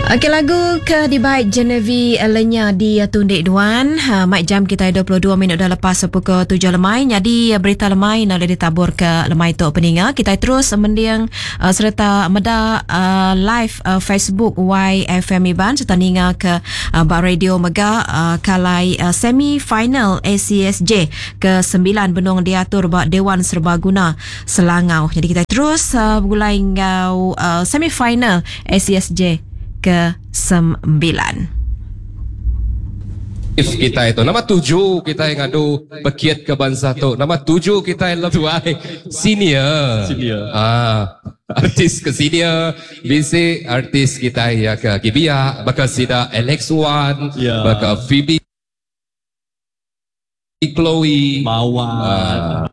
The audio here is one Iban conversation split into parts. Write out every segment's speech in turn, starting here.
Okey lagu ke dibai Genevieve Lenya di Tundik Duan. Ha, mai jam kita 22 minit dah lepas pukul 7 lemai. Nyadi berita lemai nak boleh ditabur ke lemai tu peninga. Kita terus mending uh, sereta meda uh, live uh, Facebook YFM Iban sereta ninga ke uh, ba radio mega uh, kalai uh, semi final ACSJ ke 9 benung diatur ba Dewan Serbaguna Selangau. Jadi kita terus uh, begulai enggau uh, semi final ACSJ ke sembilan. If kitai tu nama tuju kitai ngadu pekit ke bansa tu nama tuju kitai tuai senior senior ah artis ke senior bisi artis kitai ya ke agi biak baka sida Alex Wan yeah. baka Phoebe Chloe Mawar ah.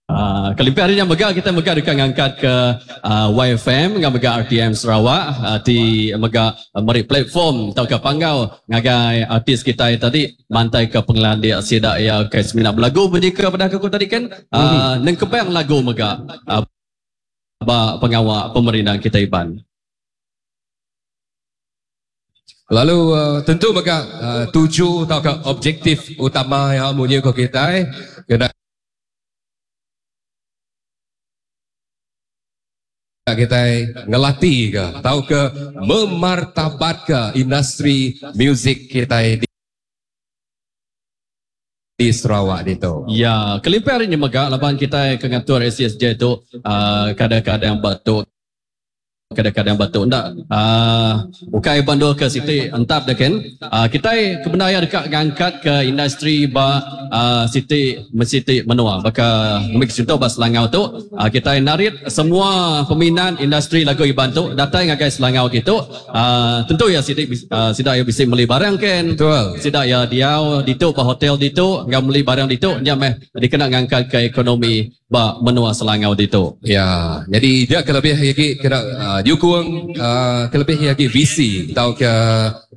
Uh, kelimpah hari nya mega kita mega deka ngangkat ke uh, YFM enggau mega RTM Sarawak uh, ti mega uh, meri platform tauka panggau ngagai artis kita tadi mantai ke pengelandik sida iya ke semina belagu bunyi ke pedah aku tadi kan uh, nengkebang lagu mega uh, ba pengawa pemerindang kita Iban. Lalu uh, tentu mega uh, tuju tauka objektif utama yang munyi ko kitai kena kitai ngelati ke tauka memartabatka industri muzik kitai di Sarawak ditu. Ya, kelimpah ari nya mega laban kitai ke ngatur ACSJ tu uh, kadang-kadang batu kadang-kadang batu enda uh, ukai bandul ke siti entap dah kan uh, kitai kebendar ya deka ngangkat ke industri ba uh, siti mesiti menua baka ngambil contoh ba Selangau tu uh, kitai narit semua peminat industri lagu Iban tu datai ngagai Selangau kitu uh, tentu ya siti uh, sida ya bisi meli barang kan Betul. Sida ya diau ditu ba hotel ditu enggau meli barang ditu nya meh dikena ngangkat ke ekonomi ba menua Selangau ditu. Ya, jadi dia kelebih lagi kena uh, nyukung uh, kelebih lagi visi atau ke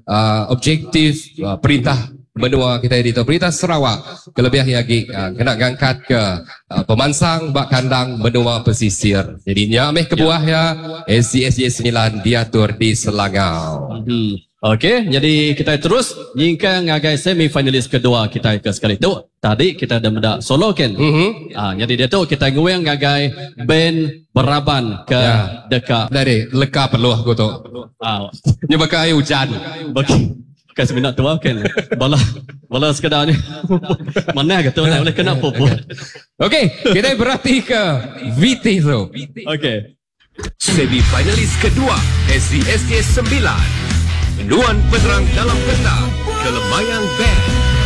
uh, objektif uh, perintah menua kita ditu perintah Sarawak kelebih lagi uh, kena ngangkat ke uh, pemansang ba kandang menua pesisir. Jadi nya meh kebuah ya SCSJ 9 diatur di Selangau. Hmm. Okey, jadi kita terus nyingkang ngagai semi finalis kedua kita ke sekali tu. Tadi kita dah meda solo kan. Mm-hmm. Ha, jadi dia tu kita nguing ngagai band beraban ke Ya. deka Dari leka perlu aku tu. ah Nya baka air hujan. bagi bukan semina tua kan. Bala bala sekadar ni. Mana ke tu nak boleh kena pupuk. Okey, kita berhati ke VT tu. Okey. Semi finalis kedua SCSJ 9. Nuan Penerang Dalam Petang, Kelemayang Band.